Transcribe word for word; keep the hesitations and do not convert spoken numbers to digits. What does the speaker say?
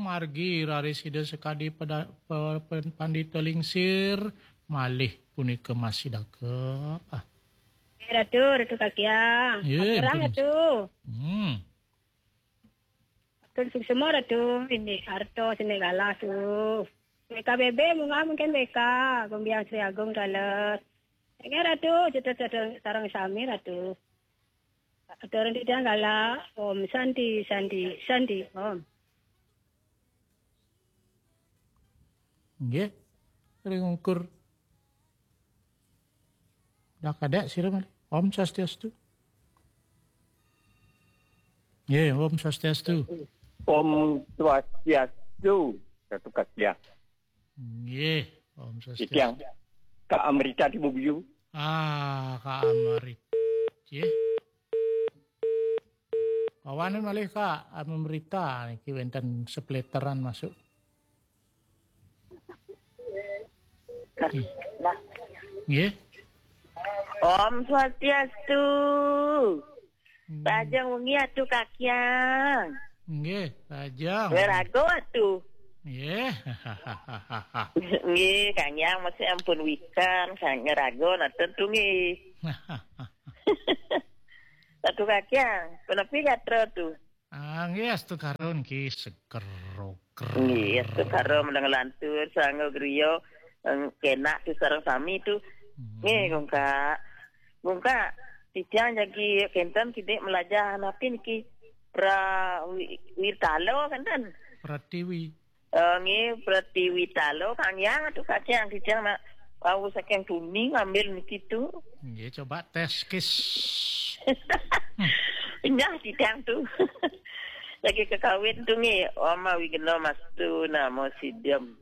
Margi raris Ida sakadi pada, pe-, pe-, pandita lingsir, malih punika masih dakep. Ah. Ratu, Ratu Kakiang. Ye, Aturang, betul. Ratu. Hmm. Atur suksma, Ratu. Ini Arto sini galah tu. B K B B munggah mungkin B K. Gumbiang Sri Agung Dalas. Ini Ratu, cerita sareng sami, Ratu. Aturang titiang galah. Om Santi, Santi, Santi. Om. Nggih. Ring ungkur. Dah kadek sira malih. Om Swastiastu. Nggih, Om Swastiastu. Om Swastiastu, Ratu Kakiang. Nggih, Om Swastiastu. Titiang Kak Amrita di Bubiu. Ah, Kak Amrit. Nggih. Kawanin malih Kak Amrita niki wenten sepleteran masuk. Nggih. Om Swastiastu. Pajeng wengi Atu Kakiang. Nggih, pajeng. Wiraga Atu. Nggih. Nggih, Kang Yang masih ampun wikan, Kang Raga naten tu nggih. Atu Kakiang, punapi gatra tu? Ah, nggih, astu karon ki seger roger. Nggih, astu karon meneng lantur, sangga griya, eh, kenak tu sareng sami tu. Nggih, Gungka. Gungka, titiang jagi kenten kidik melajah napi niki pra wi-, witalo kenten. Pratiwi. Eh, nggih, Pratiwitalo, Kang Yang, Atu Kakiang, titiang nak wau saking tuni ngambil niki tu. Nggih, coba tes kis. Nyah titiang tu. Lagi kekawin tu nggih, Oma Wigna Mastu Namo Sidem.